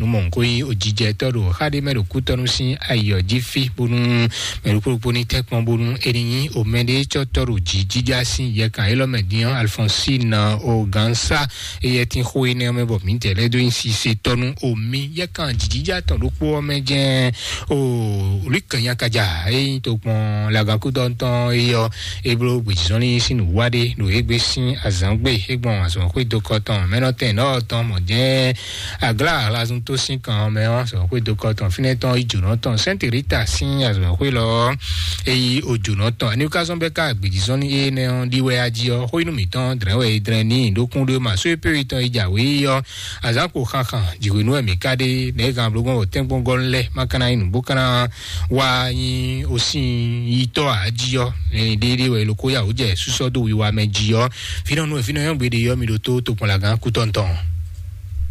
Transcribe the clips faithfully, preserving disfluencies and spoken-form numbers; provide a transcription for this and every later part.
Numɔ ko yi o jijɛ tɔ ɖo xa ɖe mɛ ɖo kutɔnu sín ayɔ jí fí bónú mɛ ɖokpó ɖokpó ní tɛkpɔn bónú eni nyi o mɛ ɖe tsɔ tɔ ɖo jí jíjá sín yɛkan élɔ́ mɛ dín Alphonsine o gansa eyɛ tin xó énɛ́ mɛ bɔ mǐ tɛ lɛ́ dó nyi sise tɔnu o mi yɛkan jǐjíjá tɔn ɖokpó ɔ́ mɛ jɛ́n o lukanyakaja eyi to kpɔn lagankútɔntɔn eyɔ eblo gbèjìzɔnlin sín nǔwá ɖe ɖo égbé sín azǎngbe égbɔn azɔn xwé dokɔ tɔn mɛnɔtɛn nɔ tɔn mɔ jɛ́n Agla alazun tó sín kan ɔ́ mɛ ɔ́, azɔ̌xwé dokɔ tɔn fínɛ́ tɔn yi jǒnɔ tɔn Sɛ́nti Rita sín azɔ̌xwé lɔ ɔ́, é yí ojǒnɔ tɔn. Eni ká zɔ́n bɛ́ ká agbějízɔ́n ní énɛ́ ɔ́ ɖi wɛ ají ɔ́, xó nú mǐtɔn dlɛ̌n wɛ è dlɛ̌n n'i ɖókún ɖé ma só é pé tɔn yi jǎwe ɔ́, azǎn kpo xanxan jǐhwenu wɛ mǐ ká ɖe nɛ̌ gan bló gbɔn wɔ tɛ́nkpɔ́n gɔ́ lɛ́ má ka ná nyí nǔgbó ká ná wá nyí osín yitɔ́ ǎ jí ɔ́, ɖéɖé wɛ è lo kó yá wǔ jɛ súsɔ́ dó wiwa mɛ jí ɔ́, fínɛ́ nú fínɛ́ nyɔ́gbé ɖé ɔ́, mi ɖo tó tokpɔnlagán kútɔn tɔn.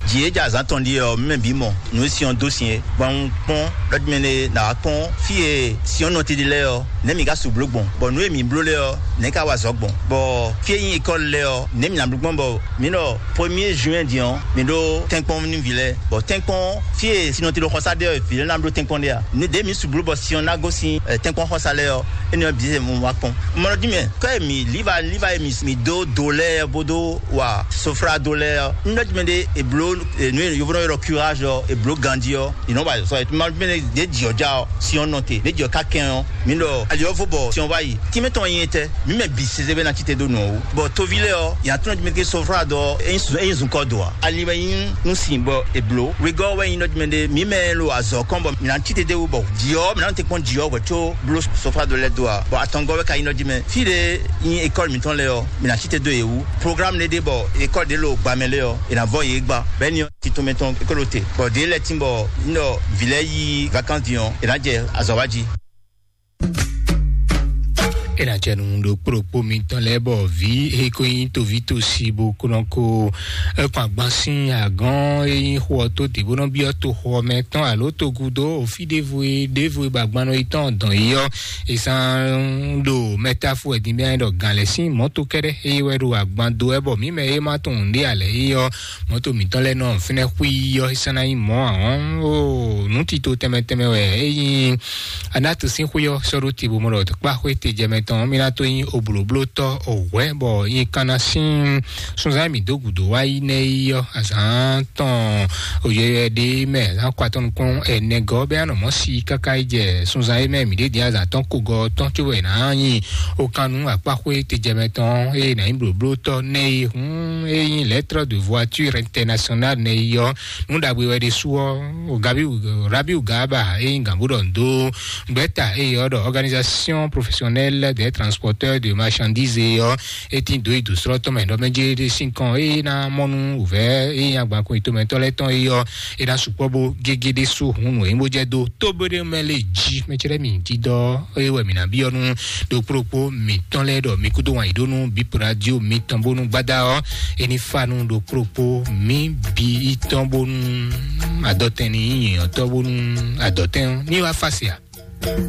Jǐ e jɛ azǎn tɔn ɖíe ɔ́, mí mɛ bǐ mɔ nǔ e sin ɔ́ dó sin é. Bɔ un kpɔ́n ɖɔ mɛ ɖé ná wá kpɔ́n fí e sin ɔ́ nɔ titli lɛ́ɛ ɔ́, nɛ̌ mǐ ka su bló gbɔn, bɔ nǔ e mǐ bló lɛ́ɛ ɔ́, nɛ̌ ka wa azɔ̌ gbɔn, bɔ fí e nyí ekɔ́li lɛ́ɛ ɔ́, nɛ̌ mǐ ná bló gbɔn, bɔ mǐ ɖɔ premier juin din ɔ́, mǐ ɖó tɛ́nkpɔ́n nú vǐ lɛ́ɛ, bɔ tɛ́nkpɔ́n fí e sin ɔ́ titli xɔsá ɖe ɔ́, vǐ lɛ́ɛ ná bló tɛ́nkpɔ́n ɖe a? Nǔ ɖě mǐ su bló bɔ sin ɔ́ ná gosín ɛ, tɛ́nkpɔ́n xɔsá lɛ́ɛ ɔ́, énɛ́ ɔ́ bǐ wɛ un wá kpɔ́n. Un mɔ nɔ dín mɛ kɔ́ e mǐ líva líva e mǐ mǐ dó do lɛ́ɛ bó dó wa soflado lɛ́ɛ ɔ́, un ɖɔ dín mɛ ɖé è bló, enu e yovónɔ ylɔ́ curage ɔ́, è bló ganjí ɔ́, è nɔ wa sɔ. È ma dín mɛ ɖé ɖě jǐ ɔ́ já ɔ́, sin ɔ́ nɔ te, ɖě jǐ ɔ́ ka kɛn ɔ́, mǐ ɖɔ ali ɔ́ vo bɔ sin ɔ́ wá yi. Tínmɛ tɔn nyi etɛ, mǐ mɛ bǐ sese bɛ ná cí te dó nǔ ɔ́ wú. Bɔ toví lɛ́ɛ ɔ́, yě ná tlɔ́n dín mɛ ke soflado ɔ́, é nyí zun- é nyí zunkɔ do ǎ. Ali wɛ nyí nú sin bɔ è bló. Wegɔ́ wɛ nyí ɖɔ dín mɛ ɖé, mǐ mɛ lo azɔ̌ kɔn bɔ mǐ ná cí te dó wú bɔ jǐ ɔ́, mǐ ná nɔ te kpɔ́n jǐ ɔ́ hwɛ̌ có bló soflado lɛ́ɛ dó ǎ. Bɔ atɔngɔ́ wɛ ka nyí nɔ jí mɛ. Fí ɖé nyí école mǐtɔn lɛ́ɛ ɔ́, mǐ ná cí te dó yě wú. Programme ɖé ɖe bɔ école ɖé lo gbamɛ lɛ́ɛ ɔ́, è nǎ vɔ yě gba. Bɛ́ ni ɔ́, tito mɛ tɔn é ko ɖo te. Bɔ ɖě lɛ́ɛ tín bɔ un ɖɔ vǐ lɛ́ɛ yí vacances din ɔ́, è nǎ jɛ azɔ̌ wá jí. É ná jɛ nǔ ɖo kplokpó mitɔn lɛ́ɛ bɔ vǐ e ko nyí toví tosi bó ko nɔ ko kpɔn agban sín agɔ́n e nyí xó ɔ́ tó dě bó nɔ byɔ́ toxo ɔ́ mɛ tɔn alo togudo òfí ɖěvo e ɖěvo e ba agban nɔ yi tɔn dɔn yi ɔ́, è sán ɖo mɛtáfo wɛ din bia ɖɔ gǎn lɛ́ sín mɔ̌to kɛ́ɖɛ́ eye wɛ ɖo agban dó wɛ bɔ mǐ mɛ e ma tunwun ɖé alɛ yi ɔ́, mɔ̌to mǐtɔn lɛ́ɛ nɔ fínɛ́ xwí yi ɔ́, é sán ná nyí mɔ̌ ahɔ́n. O nǔ tito tɛnmɛ tɛnmɛ wɛ é nyí Anatu sín xwé ɔ́ sɔ́ ɖó te bó mɔ ɖɔ kpá xwé te jɛ mɛ tɔn mí ná tó nyí oblǒblótɔ́ òhwɛ́ bɔ nyí kanna sín sunzán mǐ dó gǔdo wá yi nɛ́ yi ɔ́, azǎn tɔn òyɛyɛ ɖé mɛ azǎn kɔ atɔn nukún ɛnɛ gɔ́ bɛ́ anɔ mɔ̌ si káká yi jɛ sunzán é mɛ mǐ ɖé din azǎn tɔn kogɔ tɔn cóbɔ è nǎ nyi okannu akpáxwé te jɛ mɛ tɔn eye nǎ nyí blǒblótɔ́ nɛ́ yi hún é nyí lettre de voiture internationale nɛ́ yi ɔ́, nǔ ɖagbe wɛ ɖésú ɔ́, Gabiu Rabiu Garba e nyí gǎnbúɖɔ ndo gbɛ́ta eye ɔ́ ɖɔ organisation professionnelle des transporteurs de marchandises ɔ́, é tín dǒ yi dǒ srɔ́ tɔn mɛ ɖɔ mɛ jɛ ɖé sín kɔn eye ná mɔ nú wǔvɛ́ eye nyí agbankun yětɔn mɛtɔn lɛ́ɛ tɔn eye ɔ́, é ná sukpɔ́ bó gégé ɖésú hun nǔ e nyí bó jɛ dó tó bó ɖé mɛ lé jí mɛ cɛ́ mì dídɔ eye wɛ mǐ ná byɔ́ nú ɖokpó ɖokpó mǐtɔn lɛ́ɛ ɖɔ mi kúdó wǎn yí ɖó nú bip radio mitɔn bónú gbada ɔ́, é ní fa nú ɖokpó ɖokpó mǐ bǐ tɔn bónú adɔtɛn ní nyí nyǐnyɔ́tɔ́ bónú adɔtɛn ní wá fa se a?